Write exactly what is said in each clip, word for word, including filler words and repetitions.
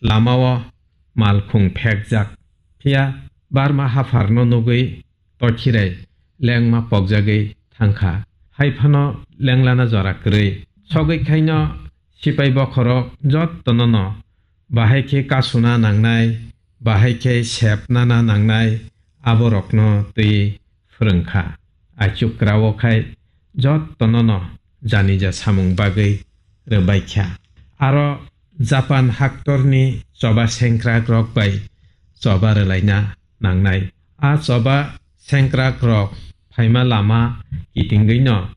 lamao malkhung phekjak. Phiya barma hapharno nugwi tokhirai lengma pokjagwi thangkha. Haiphano lenglana jora kwrwi. Sogwi khaino sipai bokhorok jottono no bahai khe kasuna nangnai, bahai khe sepnana nangnai, aborokno twi phwrwngkha. Aichuk krao khai jottono no janija samung bagwi rwbaikha. Aro Japan haktorni choba sengkrakrok bai choba rwlaina nangnai. A choba sengkrakrok phaima lama kitingwino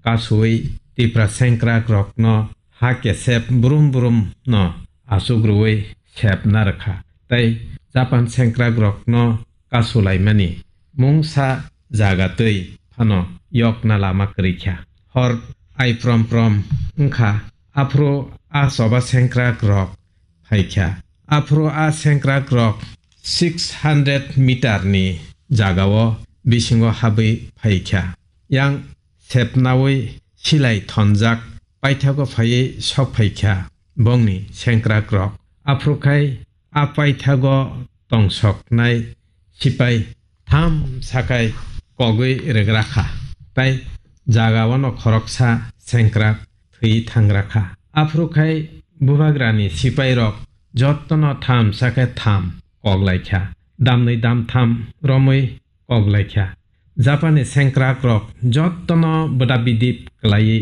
kasui Tipra sengkrakrokno ha kesep brum brum no achukrwi sepna rwkha. Tei Japan sengkrakrokno kasulaimani mungsa jaga twi phano yokna lama kwrwi kha. Hor ai prom prom wngkha, aphuru a choba sengkrakrok phaikha. Aphuru a sengkrakrok six hundred meter ni jagao bisingo habwi phaikha. Yang sepnawi silai thonjak paithago phaiwi sok phaikha bongni sengkrakrok. Aphuru khai a paithago tongsoknai sipai tham sakai kogwi rwgrakha, tei jagao no khoroksa sengkrak thwi thangrakha. Aphuru khai bubagrani sipairok jottono tham sakai tham koklaikha, damnwi damtham romwi koklaikha. Japani sengkrakrok jottono bwda bidip kwlaiwi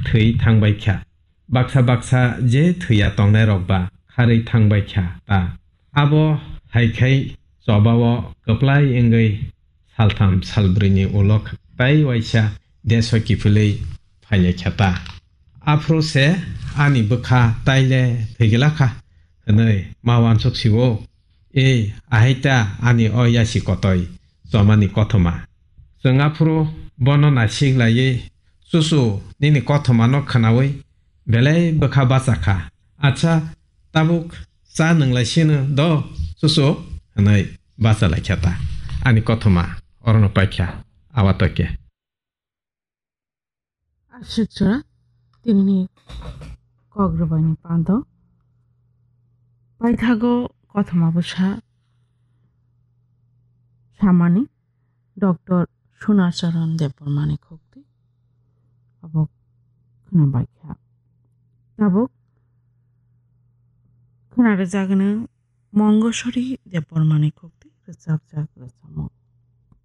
thwi thangbaikha. Baksa baksa je thwiya tongnairok ba kharwi thangbaikha ta. Abo hai khai chobao kwplai wngwi saltham salbrwini ulo tai waisa deso kiphilwi phailai kha ta. Aphuru se ani bwkha taile thwigwlakha hwnwi ma uansuk si-o. Ei, ahai ta ani o yasi kotoi chomani kothoma. Chwng aphuru bono naisik laiwi, "Chuchu, nini kothomano khwnawi belai bwkha bacha kha. Acha, tabuk cha nwnglai sino do, chuchu," hwnwi bacha lai kha ta. Ani kothoma orono paikha, awa toke. Aswk jora tinini kok rwbaini pando paithago kothoma bwsa samani Doctor Sunacharan Debbarmani khukti abo khwnabaikha. Tabuk khwna rwjagwno Mongosori Debbarmani khukti rwchapjak rwchapmung.